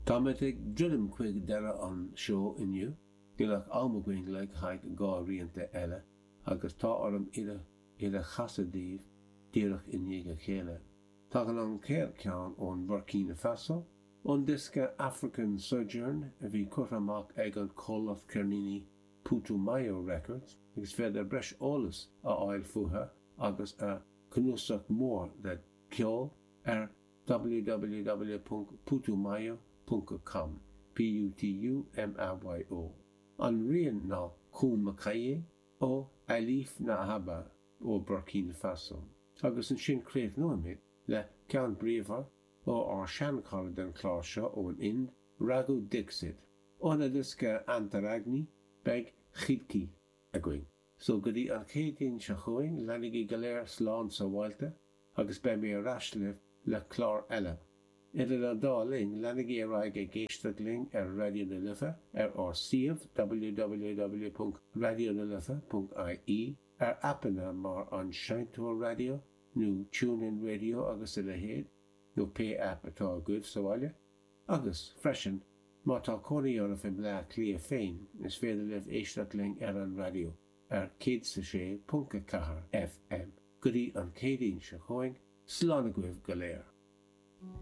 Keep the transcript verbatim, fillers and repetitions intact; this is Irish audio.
Táimid ag druidim chuig deireadh an seó inniu, níl ach am againn le haghaidh dhá rianta eile agus tá orm iad a chasadh daoibh díreach i ndiaidh a chéile. Tagann an chéad cheann ón Burkina Faso, ón diosca African Sojourn a bhí curtha amach ag an comhlacht ceirníní Putumayo Records agus féidir breis eolais a fháil fúthu agus a cnuasach mór de ceol ar www.putumayo.com P U T U M A Y O. An rian ná Koumakaye ó Alif Naaba ó Burkina Faso. Agus ansin críochnóimid le ceann bríomhar ó ár seanchara den chlár seo ón Ind, Raghu Dixit. Óna diosca Antaragni beidh Khidki againn. So go dtí an Chéadaoin seo chugainn, leanaigí go léir slán sábháilte agus beidh mé ar ais libh le clár eile. Idir an dá linn, leanaigí ar aghaidh ag éisteacht linn ar Raidió na Life ar ár suíomh w w w ponc raidionalife ponc I E ar aipeanna mar an Seinnteoir Raidió nó TuneIn Radio agus a leithéid nó pé aip atá agaibh sa bhaile, agus freisin má tá cónaí oraibh i mBleá Cliath féin is féidir libh éisteacht linn ar an raidió ar céad is a sé ponc a ceathair F M. Go dtí an Chéadaoin seo chugainn, slán agaibh go léir.